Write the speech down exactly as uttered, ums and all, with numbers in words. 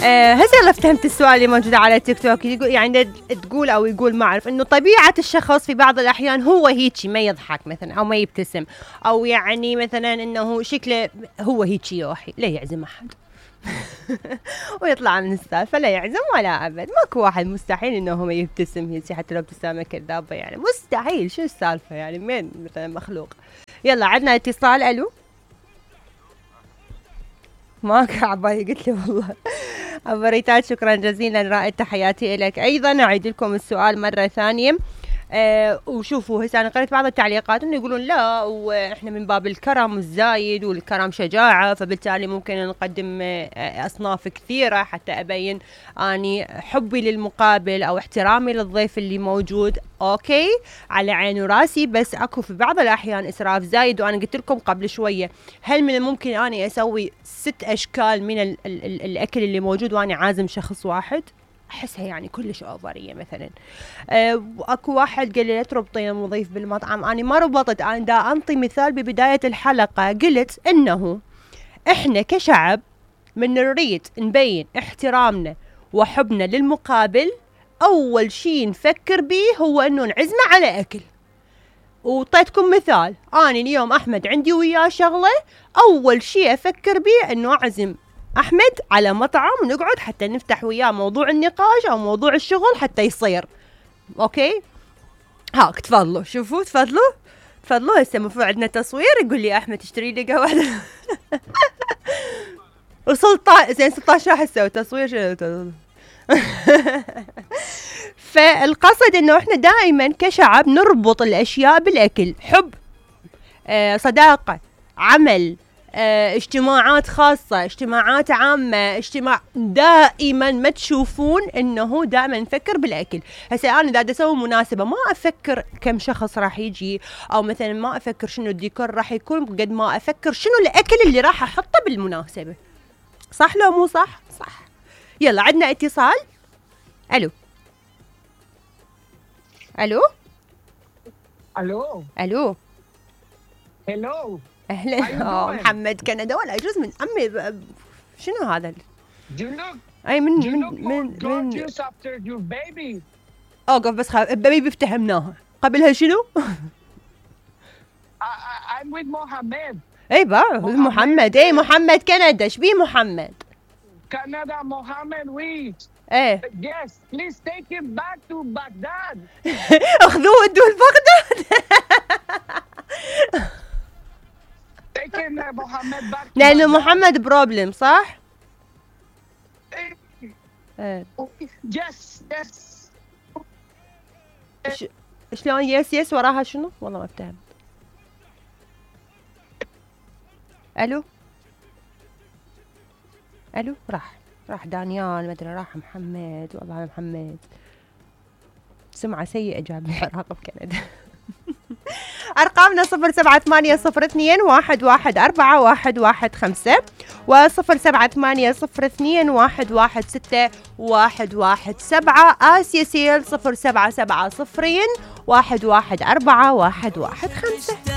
آه هسه يلا فهمت السؤال اللي موجود على تيك توك، يقول يعني تقول او يقول ما اعرف انه طبيعة الشخص في بعض الاحيان هو هيجي ما يضحك مثلا او ما يبتسم، او يعني مثلا انه شكله هو هيجي يوحي لا يعزم احد ويطلع من السالفة لا يعزم ولا ابد، ماكو واحد مستحيل انه هو ما يبتسم هيجي حتى لو ابتسامة كذابة، يعني مستحيل، شو السالفة يعني مين مثلا مخلوق. يلا عندنا اتصال. الو ماك عبالي قلت له والله عبريتات. شكرا جزيلا رائد، تحياتي لك. ايضا اعيد لكم السؤال مره ثانيه. أه وشوفوا هسه انا قريت بعض التعليقات انه يقولون لا واحنا من باب الكرم الزايد والكرم شجاعه، فبالتالي ممكن نقدم اصناف كثيره حتى ابين اني حبي للمقابل او احترامي للضيف اللي موجود. اوكي على عيني وراسي، بس اكو في بعض الاحيان اسراف زايد، وانا قلت لكم قبل شويه هل من الممكن اني اسوي ست اشكال من ال ال ال الاكل اللي موجود وانا عازم شخص واحد؟ احسها يعني كلش اوفريه مثلا. أه اكو واحد قال لي لا تربطين المضيف بالمطعم، انا ما ربطت، انا دا انطي مثال ببدايه الحلقه، قلت انه احنا كشعب من نريد نبين احترامنا وحبنا للمقابل، اول شيء نفكر به هو انه نعزمه على اكل. وطيتكم مثال، انا اليوم احمد عندي وياه شغله، اول شيء افكر به انه اعزم احمد على مطعم ونقعد حتى نفتح وياه موضوع النقاش او موضوع الشغل حتى يصير. اوكي هاك تفضلوا شوفوا تفضلوا تفضلوا. هسه المفروض عندنا تصوير، يقول لي احمد تشتري لي قهوه وسلطان زين ستاشر راح اسوي تصوير شنو فالقصد انه احنا دائما كشعب نربط الاشياء بالاكل، حب، آه صداقه، عمل، اه اجتماعات خاصة، اجتماعات عامة، اجتماع، دائما ما تشوفون انه دائما نفكر بالاكل. هسه انا اذا اسوي مناسبة ما افكر كم شخص راح يجي، او مثلا ما افكر شنو الديكور راح يكون، قد ما افكر شنو الاكل اللي راح احطه بالمناسبة. صح لو مو صح؟ صح. يلا عندنا اتصال. الو الو الو الو هلو اهلا. اه محمد كندا ولا يجوز من امي ب... شنو هذا؟ اي من من من من من اوقف بس خلاص بيبي افتهمناها. قبلها شنو؟ I'm with محمد. اي با محمد. اي محمد كندا. ايش بيه محمد؟ كندا محمد وي. ايه yes please take him back to Baghdad. اخذوه ودوه لبغداد. محمد باك لانه محمد بروبلم صح؟ ايه يس يس. شلون يس يس وراها شنو؟ والله ما افتهم. الو الو راح راح دانيال، ما ادري راح محمد، والله محمد سمعة سيئة جاب العراق بكندا. أرقامنا صفر سبعة ثمانية صفر اثنين واحد واحد أربعة واحد واحد خمسة وصفر سبعة ثمانية صفر اثنين واحد واحد ستة واحد واحد سبعة. آسيا سيل صفر سبعة سبعة صفرين واحد واحد أربعة واحد واحد خمسة.